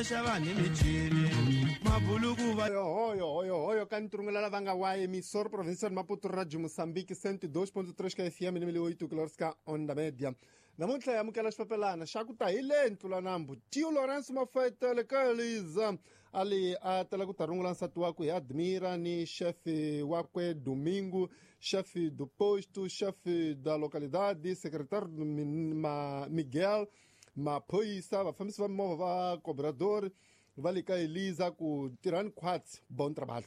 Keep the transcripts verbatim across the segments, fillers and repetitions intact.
ta xava ni michini mabuluku va hoyo hoyo hoyo ka ntirungula lava nga wa emissor provincial Maputo Radio Moçambique cento e dois ponto três K F M ni mil oito quilômetros ka onda média. Namuntlha hi amukela xipapelana xa ku ta hi le Ntlulanambu Tio Lourenço Mafetele ka Eliza ali a tela ku ta rungula nsati wakwe hi Admira ni chefe wakwe Domingo, chefe do posto, chefe da localidade, secretário Miguel, maphorisa, vafambisi va mimovha va cobrador va le ka Eliza ku tirhani khwatsi bon trabalho.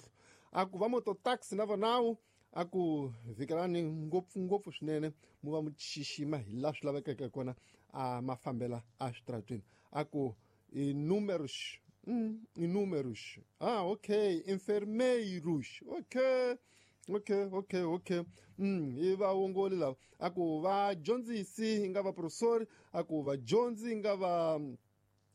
A ku va mototaxi na vonawu a ku vhikelani ngopfungopfu swinene mu va mu xixima hi laha swi lavekeke kona a mafambela a switaratweni. A ku i números, mm, i números. Ah, okay, enfermeiros. Okay. Okay, okay, okay. Mm, i vaongori lava. A ku vadyondzisi i nga va professori, a ku vadyondzi i nga va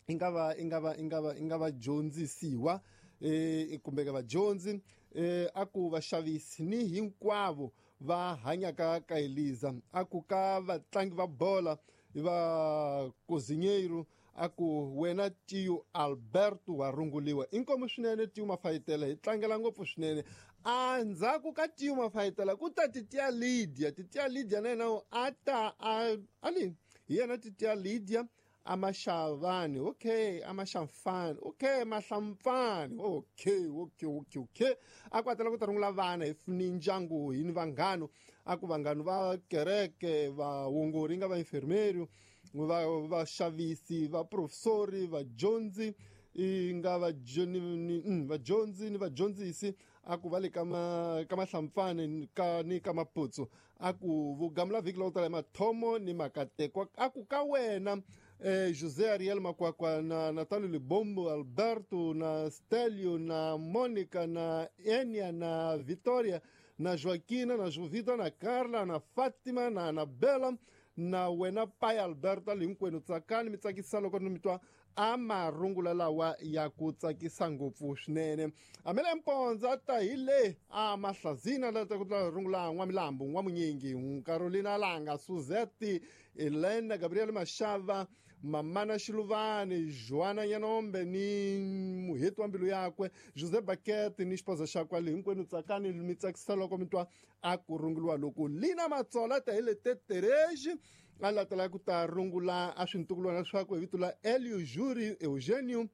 i nga va i nga va i nga va i nga vadyondzisiwa eh kumbe ka vadyondzi eh a ku vaxavisi ni hinkwavo va hanyaka ka Eliza. A ku ka vatlangi va bola va cozinheiro, a ku wena Tio Alberto wa runguliwa. Inkomu swinene Tio Mafayitela, hi tlangela ngopfu swinene. A ndzhaku ka Tio Mafayitela ku ta Titia Lydia. Titia Lydia na yena a ta a ali hi yena Titia Lydia amaxavani, okay, amaxamfani, okay, mahlampfani, okay, okay, okay, okay. A ku atela ku ta rungula vana hi ni ndyangu hi ni vanghano. A ku vanghano va kereke, vaongori nga va enfermeiro, va vaxavisi, va professori, vadyondzi i nga vadyondzi ni vadyondzisi. A ku va le ka ma ka mahlampfani ka ni ka Maputsu. A ku vugamula vhiki lowu tala hi mathomo ni makatekwa. A ku ka wena eh, José Ariel Makwakwa na Natalio Libombo, Alberto na Stelio na Monica na Enia na Victoria na Joaquina na Jovita na Carla na Fatima na Anabela na wena pai Alberto ali hinkwenu tsakani mi tsakisa loko ni mi twa a marungula lawa ya ku tsakisa ngopfu swinene. Amele Mponza ta hi le a Mahlazina la ta ku ta rungula N'wamilambu, N'wamunyingi, Carolina Langa, Suzette, Elena, Gabriel Mashava, Mamana Xiluvani, Joana Nyanombe ni muheti wa mbilu yakwe José Baquete ni xipoza xakwe ali hinkwenu tsakani mi tsakisa loko mi twa a ku runguliwa loko. Lina Matsola ta hi le Tetereji a latela ku ta rungula a swintukulwana swakwe hi vito la Elio Juri, Eugenio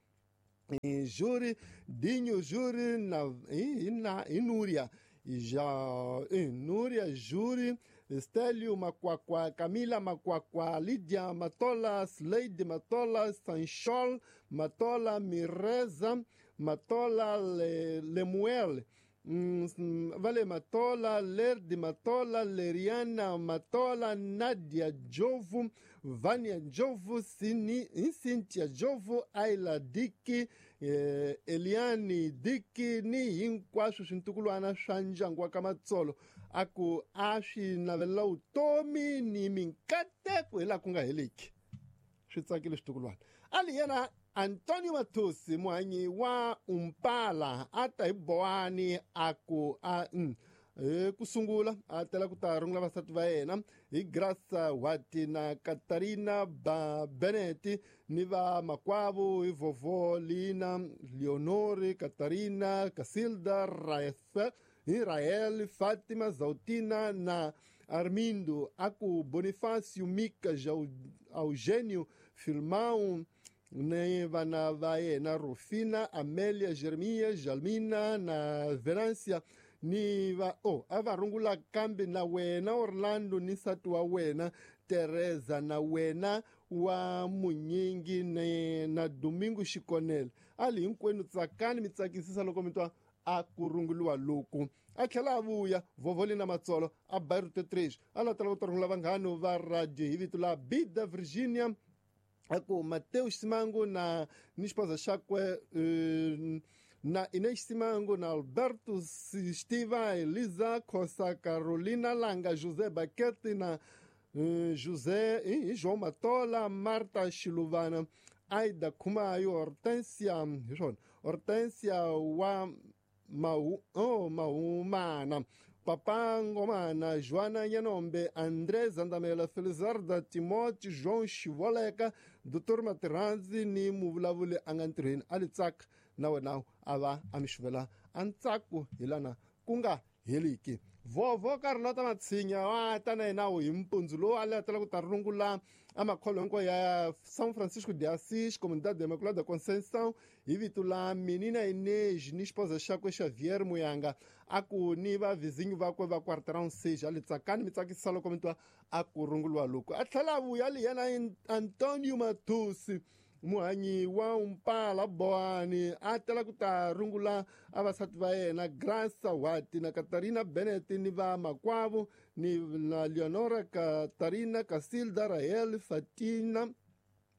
Juri, Dinho Juri na hi na hi Núria ja Núria Juri, Stelio Makwakwa, Camila Makwakwa, Lydia Matola, Slade Matola, Sanchol Matola, Mireza Matola, Le, Lemuel Mm, Vale Matola, Lerdi Matola, Leriana Matola, Nadia Jovu, Vânia Jovu, Sini, Cíntia Jovu, Ayla Diki, eh, Eliane Diki ni hinkwaswo swintukulwana swa ndyangu wa ka Matsolo. A ku a swi navelela vutomi ni minkateko hi laha ku nga heliki. Swi tsakile switukulwana. Ali yena Antonio Matusi muhanyi wa Umpala a ta hi Boani a ku a mm, e, ku sungula a tela ku ta rungula vasati va yena hi Graça Wati na Katarina ba Benetti ni va makwavo hi Vovó Lina, Leonore, Katarina, Casilda, Rafa, Israel, Fátima, Zautina na Armindo. A ku Bonifácio, Mica, Eugênio, Filmão ni vana va yena Rufina, Amélia, Jeremias, Jalmina na Venância ni va oh a va rungula kambe na wena Orlando ni nsati wa wena Teresa na wena wa Munyingi ni na Domingo Xikonele. Ali hinkwenu tsakani mi tsakisisa loko mi twa a ku runguliwa loku. A tlhela a vuya Vovoli na Matsolo a bairro T três a latela ku ta rungula vanghano va radio hi vito la Bida Virginia. A ku Mateus Simango na ni xipoza xakwe uh, na Inês Simango na Alberto Stiva, Elisa Costa, Carolina Langa, José Baquete na uh, José eh, João Matola, Marta Xiluvana, Aida Kumayo, Hortência, Hortência wa Mau, oh, Maumana, Papa Ngomana, Joana Nhanombe, André Zandamela, Felizarda Timóteo, João Xivoleka, Doutor Materanzi ni muvulavuli a nga ntirhweni a li tsaka na wena a va a mi xuvela a ntsako hi lana ku nga heliki. Vovho Carlota Matshinya wa ta na yena hi mpundzu lowu a latela ku ta rungula a makholo hinkwayo ya São Francisco de Assis, Comunidade de Imaculada Conceição, hi vito la Menina Inês ni esposa xakwe Xavier Muyanga, a ku ni vavizinyo vakwe va Quarteirão seis a li tsakani mi tsakisa loko mi twa a ku runguliwa loko. A tlhela a vuya li yena Antonio Matusi, muhanyi wa Umpala Boani, a tela ku ta rungula avasati va yena Graça Wati na Katarina Bennett ni va makwavo ni na Leonora Katarina Casilda Rahel Fatina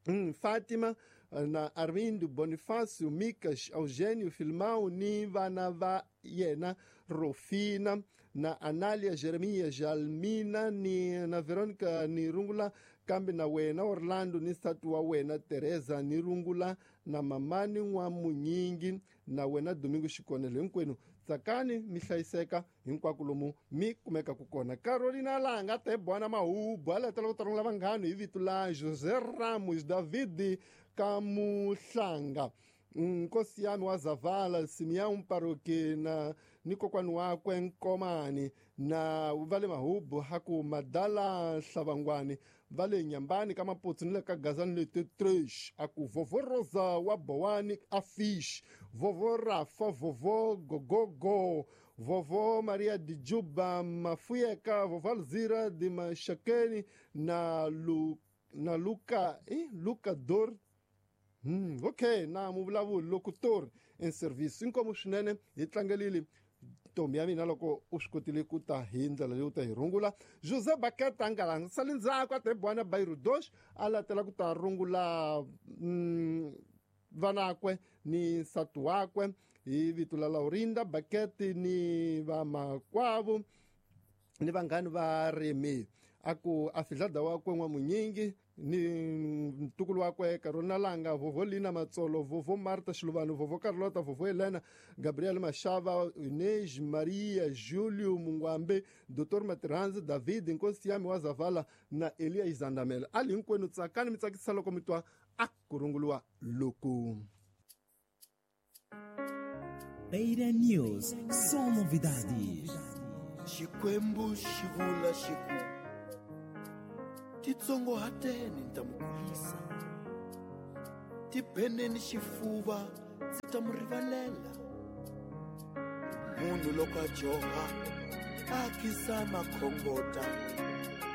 mm, Fatima na Armindo Bonifácio Micas Eugênio Filmão ni vana va yena Rofina na Anália Jeremias Jalmina ni na Veronica ni rungula kambe na wena Orlando ni nsati wa wena Teresa ni rungula na mamani n'wa Munyingi na wena Domingo Xikonelo. Hinkwenu tsakani mi hlayiseka hinkwako lomu mi kumekaku kona. Carolina Langa tebwana Mahubu a latela ku ta rungula vanghano hi vito la José Ramos David Kamuhlanga, nkosi yami wa Zavala Simeão Paroque na ni kokwani wakwe Nkomani na va le Mahubu haku Madala Hlavangwani va le Nyambani ka Maputsu ni le ka Gazani le Tetres, a ku Vovó Rosa wa Bowani a Fish, Vovó Rafa, Vovó Gogogo, Vovó Maria de Juba Mafuyeka, Vovó Alzira de Machakeni na Lu, na Luca, eh, Luca Dor. Hmm, ok, na muvulavuli locutor em serviço. Inkomu swinene hi tlangelile ntombi ya mina loko u swi kotile ku ta hi ndlela leyi u ta hi rungula. José Baketa a nga la sali ndzhaku a tebwana Bairro dos a latela ku ta rungula mm, vanakwe ni nsati wakwe hi vito la Laurinda Bakete ni vamakwavo ni vanghani va Remi. A ku a fidlada wakwe n'wa Munyingi ni ntukulu wakwe Carolina Langa, Vovó Lina Matsolo, Vovó Marta Xiluvano, Vovó Carlota, Vovó Helena, Gabriel Machava, Inês Maria, Júlio Mungwambe, Doutor Materanzi, David Nkosi yami wa Zavala na Elias Zandamela. Ali hinkwenu tsakani mi tsakisa loko mi twa a ku runguliwa loku. Beira News, só novidades. Xikwembu xi vula xi ku titsongohateni ni ta mu kulisa, tibeneni xifuva ndzi ta mu rivalela. Munhu loko a joha a kisa makhongota,